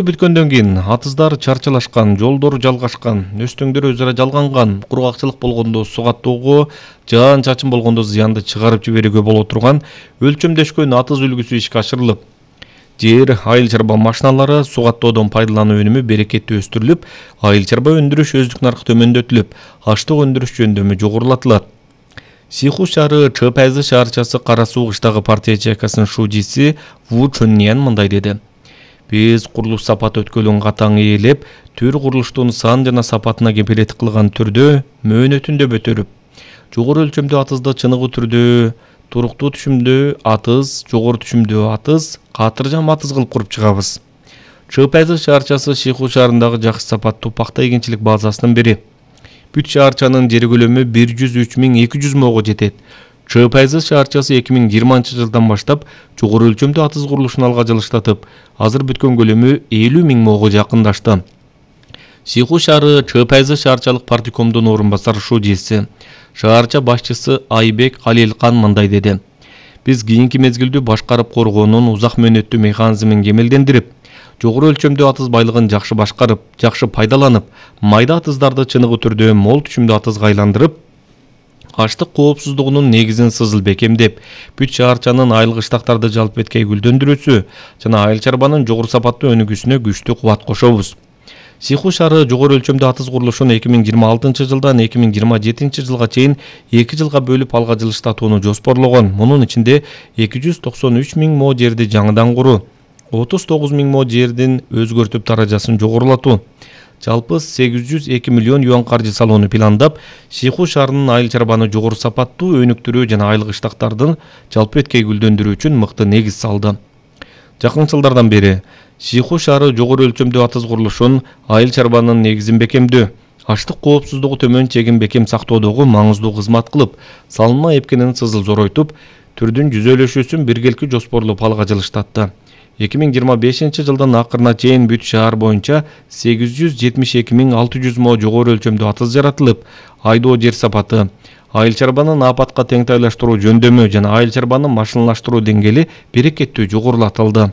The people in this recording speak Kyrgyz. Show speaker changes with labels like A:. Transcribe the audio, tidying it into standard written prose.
A: Бүткөндөн кийин атыздар чарчалашкан, жолдор жалгашкан, өстөңдөр өз ара жалганган, кургакчылык болгондо суу каттоого, жаан чачын болгондо зыянды чыгарып жиберүүгө боло турган өлчөмдөшкөн атыз үлгүсү ишке ашырылып, жер айыл чарба машиналары суу каттоодон пайдалануу өнүмү берекеттүү өстүрүлүп, айыл чарба өндүрүш өздүк наркы төмөндөтүлүп, аштык өндүрүш жөндөмү жогорулатылат. Сиху шаары Чыпайзы шаарчасы Кара Суу кыштагы партия ячейкасынын шужиси Ву Чуньян мындай деди. Биз курулуш сапаты өткөлүн катаң ээлеп, төр курулуштун сан жана сапатына кепилеттик кылган түрдө мөөнөтүндө өтөрүп, жогору өлчөмдүү атызды чыныгы түрдө, туруктуу түшүмдүү атыз, жогору түшүмдүү атыз, катыржам атыз кылып куруп чыгабыз. Чыпайзы шаарчасы Сиху шаарындагы жакшы сапаттуу пакта эгинчилик базасынын бири. Бүт шаарчанын жер көлөмү 103.200 мого жетет. Чыпайзы шаарчасы 2020 жылдан баштап жогору өлчөмдүү атыз курулушун алга жылыштатып, азыр бүткөн көлөмү 50.000 мого жакындашты. Сиху шаары Чыпайзы шаарчалык партикомдун орун басар шужиси, шаарча башчысы Айбек Алилкан мындай деди. Биз кийинки мезгилдүү башкарып коргоонун узак мөөнөттүү механизмин кемелдендирип, жогору өлчөмдүү атыз байлыгын жакшы башкарып, жакшы пайдаланып, майда атыздарды чыныгы түрдө мол түшүмдүү атызга айландырып, аштык коопсуздугунун негизин сызыл бекемдеп, бүт шаарчанын айыл кыштактарды жалп эткей гүлдөндүрүүсү жана айыл чарбанын жогору сапаттуу өнүгүүсүнө күчтүү кубат кошобуз. Сиху шаары жогору өлчөмдүү атыз курулушун 2026 жылдан 2027 жылга чейин 2 жылга бөлүп алга жылыштатууну жоспорлогон. Мунун ичинде 293.000 мо жерди жаңыдан куруу, 39.000 мо жердин өзгөртүп даражасын жогорулатуу, жалпы 802 миллион юан каржы салууну пландап, Сиху шаарынын айыл чарбаны жогору сапаттуу өнүктүрүү жана айыл кыштактардын жалпы эткей гүлдөндүрүү үчүн мыкты негиз салды. Жакын жылдардан бери Сиху шаары жогору өлчөмдүү атыз курулушун, айыл чарбанын негизин бекемдөө, аштык коопсуздугу төмөн чегин бекем сактоодогу маңыздуу кызмат кылып, салынма эпкенин сызыл зоройтуп, түрдүн жүзөлөшүүсүн биргеликти жоспорлоп алга жылыштатты. 2025 жылдын акырына чейин бүт шаар боюнча 872.600 мо жогору өлчөмдүү атыз жаратылып, айдоо жер сапаты, айыл чарбанын апатка теңтайлаштыруу жөндөмү жана айыл чарбаны машиналаштыруу деңгээли берекеттүү жогорулатылды.